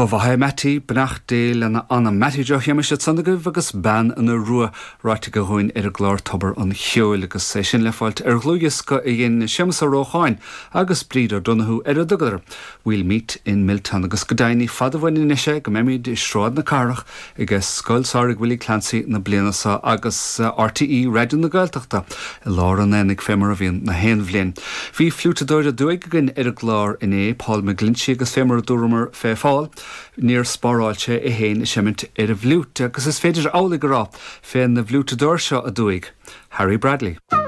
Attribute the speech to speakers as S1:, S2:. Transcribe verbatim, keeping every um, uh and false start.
S1: Ba mhaith é Mattie, beannacht Dé lena anam. Mattie Joe Shéamais ansan agaibh agus Bean na Rua ráite aige dhúinn ar an gclár Tobar an Cheoil agus é sin le fáilt ar dhlúthdhiosca a dhein Séamus Ó Rócháin agus Bríd O'Donoghue ar a dtugadar. We'll meet in Milltown agus go deimhin ní fada uainn anois é go mbeimid i Sráid na Cathrach ag Scoil Samhraidh Willie Clancy na bliana seo agus R T E Raidió na Gaeltachta i lár an aonaigh fé mar a bhíonn na haon bhliain. Bhí fliúiteadóir aduaidh againn ar an gclár inné Paul McGlinchey agus fé mar a dúramar fé Phól, níor spáráil sé é féin ag seimint ar an bhfliúit agus is féidir amhlaidh a rá fén bhfliúiteadóir seo aduaidh, Harry Bradley.